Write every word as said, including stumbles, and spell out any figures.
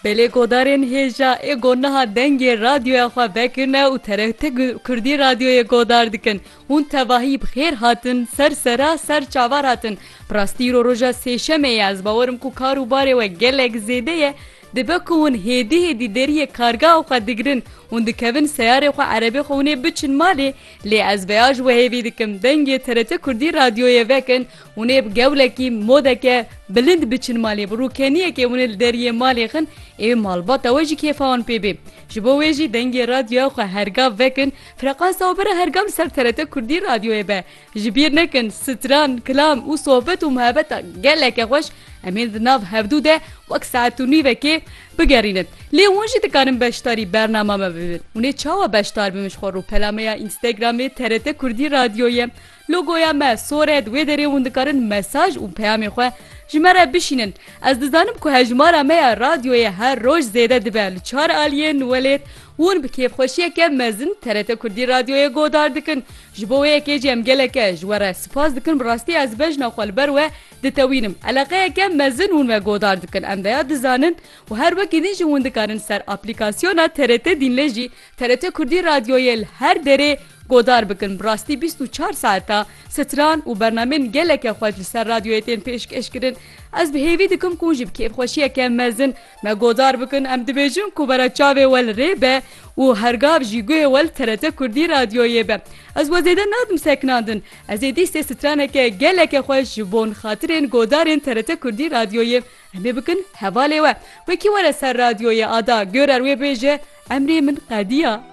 Belê godarên hêja ê ku niha dengê radyoya xwe vekirine û T R T Gu-, Kurdî Radyoyê godar dikin. Hûn tevahî bi xêr hatin, ser sera, ser çavar hatin. Bi rastî îro roja sêşemê ye, ez bawer im ku kar û barê we gelek zêde ye. Dibe ku hûn hêdî hêdî deriyê kargeha xwe digirin, hûn dikevin seyarê xwe, erebê xwe, hûn ê biçin malê. Lê ez vêya ji we hêvî dikim, dengê T R T Kurdî Radyoyê vekin, hûn ê bi gewlekî modeke bilind biçin malê, bi rûkeniyekê hûn ê li deriyê malê xin, ê malbata we jî kêfa wan pê bê. Ji bo wê jî dengê radyoya xwe hergav vekin, frekansa we bere hergav li ser T R T Kurdî Radyoyê be. Ji bîr nekin, stran, kilam û sohbet û muhebeta geleke xweş em ê di nav hevdû de wek saet û nîvekê bigerînin. Lê hûn jî dikarin beşdarî bernama me bibin. Hûn ê çawa beşdar bibin ji xwe rûpela me ya Instagramê T R T Kurdî Radyoyê? Logoya me sor e, di wê derê hûn dikarin mesaj û peyamê xwe ji me re bişînin. Ez dizanim ku hejmara me ya radyoyê her roj zêde dibe. Li çar aliyên welêt hûn bi kêfxweşiyeke mezin T R T Kurdî Radyoyê godar dikin. Ji bo wê yekê jî em geleke ji we re spas dikin. Bi rastî ez bejna xwe li ber we ditewînim. Eleqeyeke mezin hûn me godar dikin. Em veya dizanin û her wekî din jî hûn dikarin ser aplîkasyona T R T Dînlê jî T R T Kurdî Radyoyê li her derê godar bikin. Bi rastî bîst û çar saeta stran û bernamên geleke xweş li ser radyoyê tên pêşkêş kirin. Ez bi hêvî dikim ku hûn jî bi kêfxweşiyeke mezin me godar bikin. Em dibêjin ku bera çavê we li rê be û hergav jî guhê we li T R T Kurdî Radyoyê be. Ez we zêde nadim sekinandin. Ez ê dîsê straneke geleke xweş ji bon xatirên godarên T R T Kurdî Radyoyê. Em ê bikin hevalê we. Wekî were ser radyoyê ada, görer wê bêje, emrê min qediya.